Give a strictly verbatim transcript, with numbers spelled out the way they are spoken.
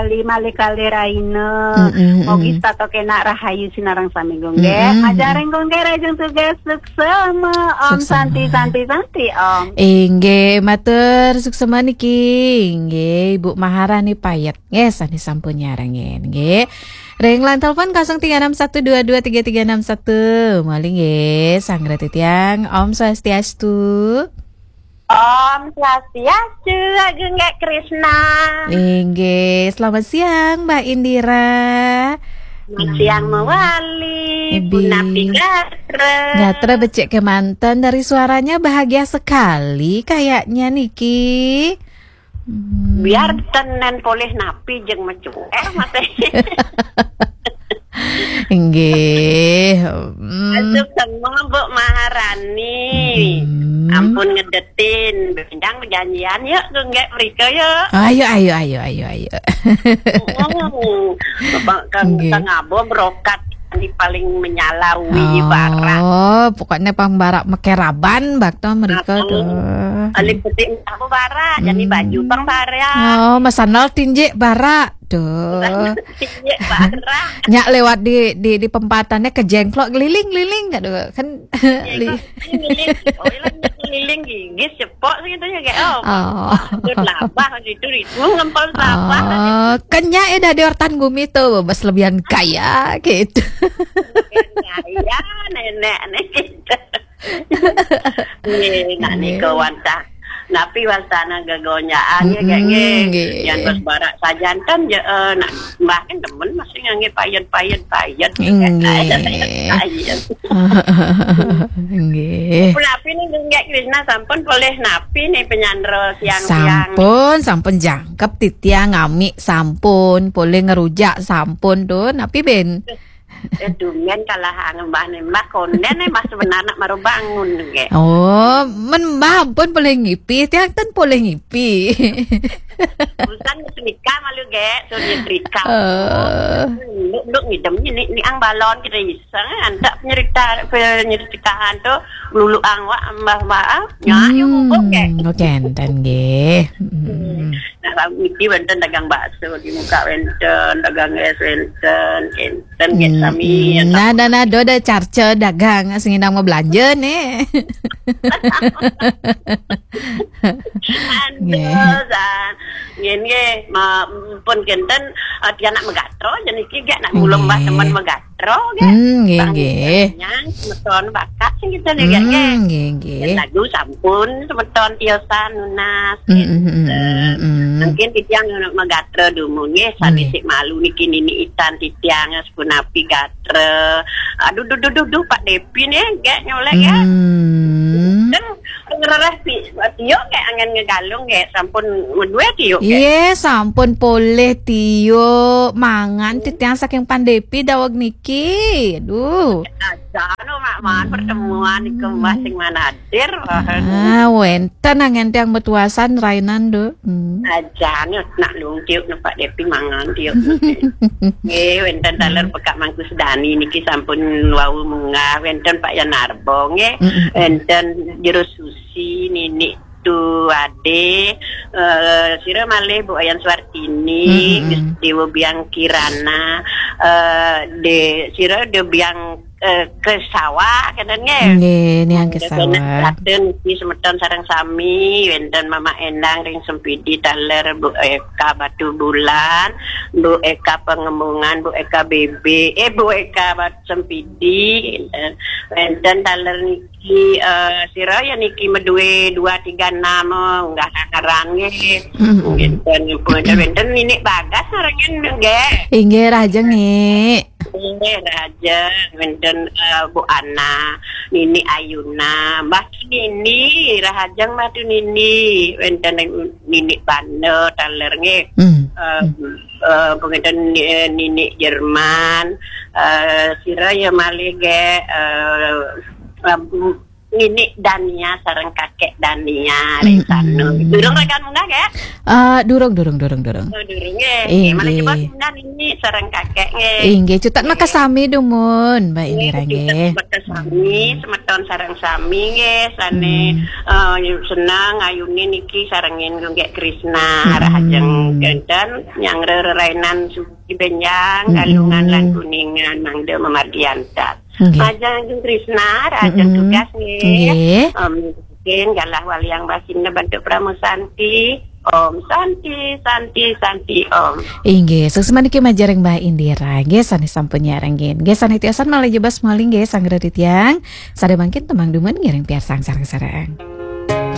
Di malih kalih rahina. Mm-mm. Mogi setata kenak rahayu sinareng sami, Gung Gek. Mm-mm. Majareng Gung Gek rahajeng tugas suksema, Om. Suksema. Santi, santi, santi, Om. Inggih, matur suksema niki. Inggih, Ibu Maharani Payet. Nggih, sane sampun nyarengin, nggih. Ring line telepon kosong tiga enam satu dua dua tiga tiga enam satu. Malih nggih, sangreti tiang. Om Swastiastu. Om Swastiastu, Ageng Gek Krisna. Inggih, selamat siang, Mbak Indira. Selamat siang, hmm, mawali. Ibi. Punapi gatra? Gatra becik kemanten, dari suaranya bahagia sekali kayaknya niki. Hmm. Biar tenen polih napi jeng mecuer, Mas. Inggih. Hmm. Suksema, Bu Maharani. Hmm. Ampun ngedetin, bendang bejanjian yuk, Gung Gek mrika yuk. Ayo, ayo, ayo, ayo, ayo. Hmm. Bapak Kang, inggih. Kang Abo berokat ini paling menyala wi, oh, barak. Pokoknya pang barak mekeraban bakto mrika. Heeh. Tuh. Alit petik apa barak, jadi, hmm, baju pang barak. Oh, masandal tinjik barak. Duh. Iya, parah. Nyak lewat di, di, di pempatannya kejengklok, keliling-keliling, aduh, kan. Iya, li- kok keliling. Oh, iya, keliling gigis, cepok gitu ya, kayak, oh, oh. Itu labah, itu, itu ngempel labah. Oh, kan nyak eh dah di ortan gumi tuh, bebas lebihan kaya, gitu. Lebihan kaya, nenek, nih, gitu. Nggih, nak, nggih, nika wantah. Napi wastana gegonjaan, ya, Kak, nggih. Mm-mm, nggih. Yang terus barak sajanten, ya, eh, nak, mbah kan demen masih ngangge payet-payet, payet. Nggih. Payet. Nggih. Pun napi nih, Gung Gek Krisna, sampun polih napi nih penyandra siang-siang? Sampun, sampun jangkep titiang ngami, sampun polih ngerujak, sampun tuh, napi ben? Eh, tumben kalah ngembah nembah konden, eh, Mas sebenarnya baru bangun, nggih. Oh, men Mbah ampun polih ngipi, tiang ten polih ngipi. Busan nyetrika malu, Gek, so nyetrika. Eh. Nduk, nduk ngidem ni, ni ang balon kita iseng, eh, antak penyerita, penyeritahan tu, lulu ang wak, Mbah, Mbah, ah, nyak, yuk, hmm, bubuk, Gek. Oke, enten, nggih. Hmm. Nah, lalu niki wenten dagang bakso di muka wenten, dagang es wenten, enten, nggih, hmm, sami, ya, nada, nada, ada carca dagang, sing nang mau belanja nih. Nggih. Anu, san. Nggih, nggih, ma-, pun kenten, eh, tiang nak megatro, jadi niki gek nak mulung, nggih, bah teman megatro, gek. Hmm, nggih, bang, nggih. Nyang, semeton bakat sing kita nih, gek, nggih. Hmm, nggih, nggih. Dan lagu sampun, semeton tiosan nunas, hmm, hmm, hmm, gitu. Hmm, hmm. Mungkin titiang nak megatro dumun, nggih, sami, nggih, sik malu niki nini itan titiang, punapi gatra. Aduh, duh, duh, duh, duh, Pak Depi nih, gek nyolek, ya. Hmm. Kan ngerereh pi, tio gek angen ngegalung gek, sampun medue tio gek. Iya, sampun poleh tio mangan, hmm, titiang saking Pak Depi daweg niki. Aduh. Aja, no, mak, man, hmm, pertemuan iku, Mbah, sing manadir. Ah, wenten angen tiang betuasan rainan, do. Hmm. Aja, no, nak lungkiuk, no, Pak Depi mangan, tiuk. Nggih, wenten taler, hmm, Pekak Mangku Sedani niki sampun wau munggah, wenten Pak Yanarbo, nggih. Mm-mm. Wenten Jero Susi, Nini Tu Ade, eh, sira malih Bu Ayan Suartini, mm-mm, Gus Dewa Biang Kirana, eh, de, sira de Biang, eh, Kesawa, kenten nggih? Nggih, niang, hmm, Kesawa. Wenten niki semeton sareng sami, wenten Mama Endang ring Sempidi taler, Bu Eka Batu Bulan, Bu Eka Pengembungan, Bu Eka B B, eh, Bu Eka Batu Sempidi, eh, wenten taler niki, eh, sira ya niki medue dua tiga enam, eh, unggah kakaran nggih. Mm-mm. Wenten, wenten, wenten Nini Bagas sareng nggih. Inggih, rahajeng, Ni. Inggih, rahajeng, wenten, eh, Bu Ana, Nini Ayuna, Mbah Tu Nini, rahajeng Mbah Tu Nini, wenten Nini Banda taler nggih. Hmm. Eh, eh, pengeten, eh, Nini Jerman, eh, sira ya malih nggih, eh, eh, Nini Dania sareng Kakek Dania ring sana. Mm-mm. Durung ragan munggah, nggih? Eh, durung, durung, durung, durung. Oh, durung, nggih. Nggih, malah inggih. Coba pindah Nini sareng Kakek, nggih. Inggih, cutet, nggih, makasami dumun, Mbak, nggih, Indira, cutet nggih. Makasami, hmm, semeton Ton sareng sami nggih, sane eh, seneng ayune niki sarengin nggih Krisna, rahajeng kenten nyang rerainan suci benjang, Kalungan lan Kuningan, mangda mamargi antar. Nggih. Majeng Krisna, rahajeng tugas nggih. Nggih. Em, mungkin galah waliang basine bentuk Pramu Santi. Om Santi, Santi, Santi, Om. Inggih, suksma niki majeng Mbah Indira. Nggih, sane sampun nyarengin. Nggih, sane tiosan malih jebas malih nggih, sanggra titiang. Sada mangkin temang dumun ngiring piarsang sareng-sareng.